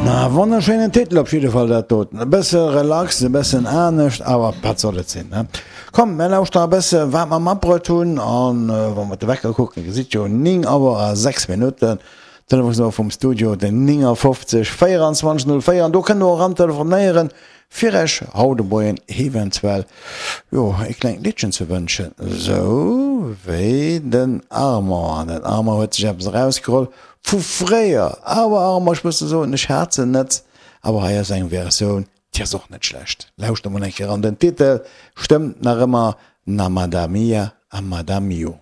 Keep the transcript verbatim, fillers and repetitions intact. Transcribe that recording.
Na, wonnerschéinen Titel op jidde Fall dat doten. E bësse relax, e bëssen anescht, awer wat soll et sinn, ne? Komm, mär lauschteren e bësse wat mer matbruet hunn an wa mer de Wecker kucken, gesitt jo néng Auer a sechs Minutten. Telefonsnummer vum Studio den néngafofzeg véierundzwanzeg null véier an do kënnt der och eran telefonéieren fir Iech haut de Moien eventuell jo e klengt Liddchen ze wënschen, sou wéi den Armand. An den Armand huet sech eppes erausgeholl vu fréier, awer Armand ech muss der soen, ech hat se net, awer hei ass eng Versioun déi ass och net schlecht. Lauschter mol eng Kéier eran, den Titel stëmmt nach ëmmer, Namada mia, amada mio.